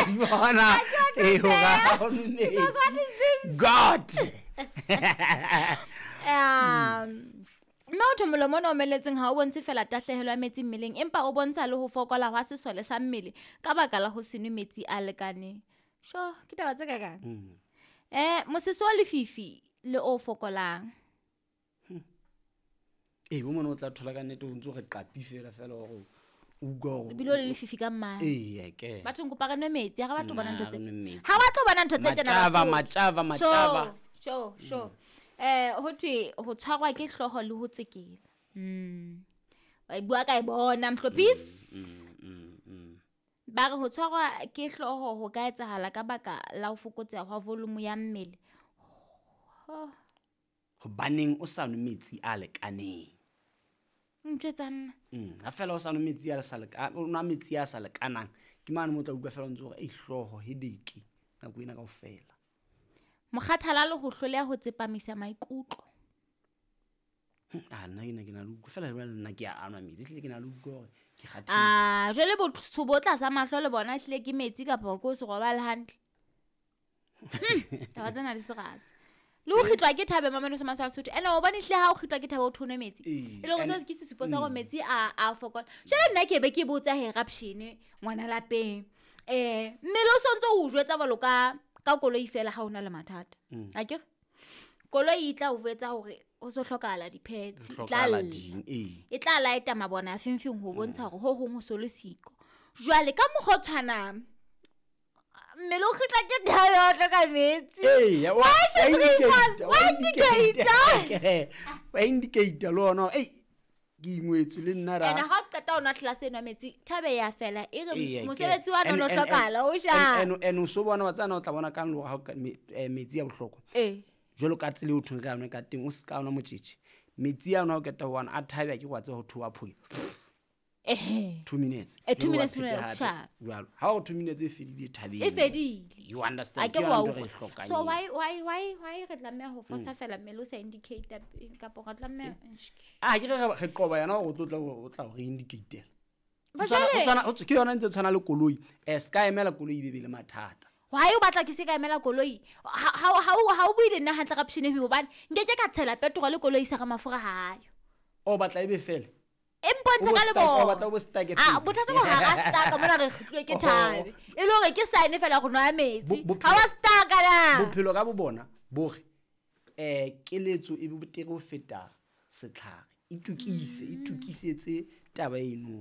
Di bona ee hore ha o nwe metsi. Because what is this? God. Mme ho thwe molomo ona o omeletseng ha o bontshe fela tahlehelo ya metsi mmeleng empa o bontsha le ho fokola hwa sesole sa mmele ka baka la ho se nwe metsi a lekaneng. Sho, ke taba tse kakang. Mosese wa lefifi le o fokolang. Ee, bo mona o tla thola ka nnete o ntse o re qapi fela fela hore o utlwa hore Ebile o le lefifi ka mmala. Ee, ke. Bathong kopa re nwe metsi, ha re batle ho bona ntho tse. Nna, re nwe metsi. Ha ba tlo bona ntho tse tjena Matjava, Basotho. matjava, matjava. Sho, sho, sho. Ho thwe ho tshwarwa ke hlooho le ho tsekela. Wa e bua ka e bona Mhlophisi. Ba re ho tshwarwa ke hlooho ho ka etsahala ka baka la ho fokotseha hwa volume ya mmele. Oh. Hobaneng o sa nwe metsi a lekaneng? Ntjwetsa nna. Ha fela o sa nwe metsi a sa leka-, o nwa metsi a sa lekanang, ke mane mo o tla utlwa fela o ntse o re, ei, hlooho, headache, nako ena kaofela. Mokgathala le ho hloleha ho tsepamisa maikutlo. Ah, nna ke na, ke na le utlwa fela jwale nna ke a anwa metsi, ehlile ke na le utlwa hore ke kgathetse. Ah, jwale botsho bo tlasa mahlo le bona ehlile ke metsi kapa ke o se robale hantle. Taba tsena di serase. Le ho kgitlwa ke thabe mamelo se masala Sotho. Ene o bone hle ha o kgitlwa ke thabe o thonwe metsi. Ee, E le hore and seo ke sesupo sa hore metsi a fokola. Jwale nna ke be ke botsa he Rapshene ngwana lapeng. Mmele o sontso o jwetsa jwalo ka koloi fela ha o na le mathata. Akere? Koloi e tla o jwetsa hore ho so hlokahala di-pads, Ho e tla hlokahala lla. ding, ee. E tla laeta mabone a fengfeng ho bontsha hore ho hong ho so le siko. Jwale ka mokgwa o tshwanang, mmele o kgitla ke thabe wa hloka metsi. Ee, ya, wa- Why should wa we indicate, pass? wa Wa indicate. indicate. Wa indicate le ona hore, ei, ke ingwetswe le nna ra. Ene ha o qeta ho nwa tlelase eno ya metsi, thabe ya fela. E re Ee, ke- mosebetsi wa and- no and- hlokahala, o and- jang? and o so bona wa tsana o tla bona kang le hore ha o ka metsi a bohlokwa. Ee. Jwalo ka tsela eo thweng re a nwe ka teng, o se ka nwa motjetje. Metsi ano ha o qeta ho ana, a thabe, a ke wa tseba ho thoha phoke. Ehe. 2 minutes. 2 Jwalo wa minutes, phete minutes, hape. sharp. Jwalo. Ha o 2 minutes e fedile, thabeng. E fedile. You understand? A ke Ke wa yona ntho e re e utlwa. hlokang So eo. why re tlameha ho fosa fela mmele o sa indicate kapa re tlameha Ah, ke re qoba yona hore o tlo tla o tla re indicate-ela. Ba Ho tshwana, jwale ho tshwana, ho ke yona e ntse tshwana le koloi. Se ka emela koloi e be be le mathata. Why o batla ke se ka emela koloi? Ha o bue le nna hantle Rapshene hobane nke ke ka tshela petrol koloi sa re mafura ha ayo. O batla e be fela? E mpontshe O bo ka stuck, lebone. o batla o bo stuck Ah, pele. bothata bo ha ra stuck, mona re kgutluwe ke Oh. thabe. E le hore ke sign fela go nwa metsi. Ha wa stuck na. Bophelo ka bo bona bo re, keletso e betere ho feta setlhare. Itukise, itukisetse taba eno.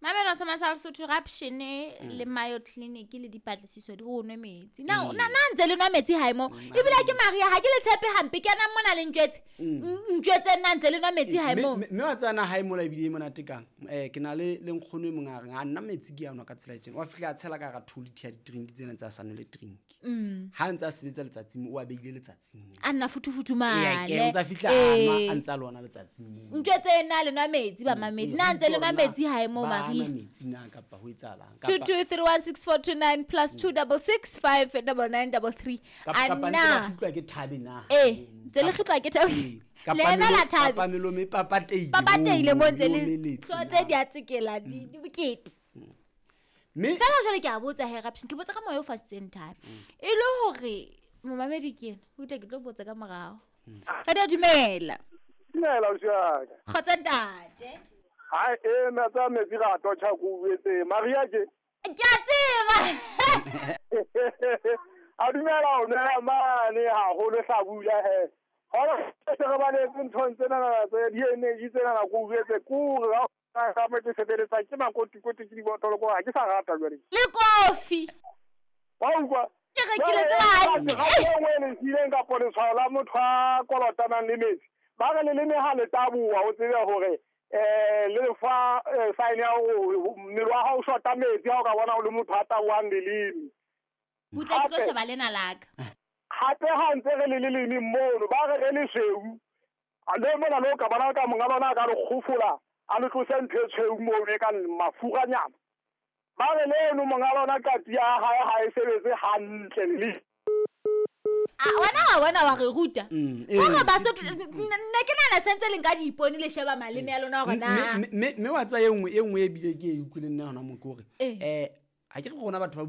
Mamelo sa Masala Sotho, Rapshene le Mayo Clinic le dipatlisiso di go nwe metsi. Na, na ntse le nwa metsi hae mo. Ebile ke Maria, ha ke le tshepe hampe, ke ena mona le ntjwetse. Ntjwetse nna ntse le nwa metsi hae mo. Mme wa tsena hae mola ebile e monate kang. Ke na le nkgono e mong a reng, a nna metsi ke a nwa ka tsela e tjena. Wa fihla a tshela ka hara 2 liter ya di-drink tsena tsa sa nwele drink. Ha ntse a sebetsa letsatsing, o a beile letsatsing. A nna futufutu Ee, mane. ke ntse a fihla a nwa, a ntse a lwana letsatsing moo. Ntjwetse nna le nwa metsi ba mamedi. Na ntse le nwa metsi hae mo, Ba Maria. nwa metsi na kapa ho etsahalang? Two Kapa two three one six four two nine plus two double six five double nine double three. Kapa, kapa A ntse na. ba kgutlwa ke thabe na? Ee, ntse le kgutlwa ke thabe. Ee, kapa Le emela melo-, thabe. kapa melomo e papateile Papateile moo, mo ntse le omeletse tso na. tse di a tsekela, di bokete. Mme Fela jwale ke a botsa he Rapshene, ke botsa ka moya o fasitseng thabe. E le hore momamedi ke ena, o tle ke tlo botsa ka morao. Re di dumela. Dumela, ausi wa ka. Kgotsa ntate. Hai, nna tsa metsi ra totjha ko uetse. Maria ke? Ke a tseba. A dumela o nela mane haholo hlabula he. Hona se re baletse nthong tsena tse di-energy tsena ko uetse kore ha ka mo ke sebeletsa ke makotikoti ke dibotlolo ko ha ke sa rata jwale. Le kofi. Wa utlwa? Ke rekile tse Jwale, bane. ha e nngwe e le siileng kapo letshwao la motho a kolotanang le metsi. Ba re leleme ha le taboha, o tsebe hore, le fa, sign ya hore mmele wa hao o shota metsi ha o ka bona o le motho a tabohang leleme. Butle ke tlo Hape sheba lena la ka. Hape ha ntse re le leleme mono, ba re re lesweu. A le mona le o ka bona ka monga lona a ka le kgofola, a le tlose ntho e tshweu mono e kang mafuranyana. Ba re leno monga lona qati ya hae ha e sebetse hantle le. Ah, wena wa bona wa re ruta. Hore Basotho, nne ke nahana sentse le nka diipone le sheba maleme a lona hore na. Mme wa tseba e nngwe, e nngwe e bile ke e utlwileng nna hona moo ke hore, Ee. ha ke re rona batho ba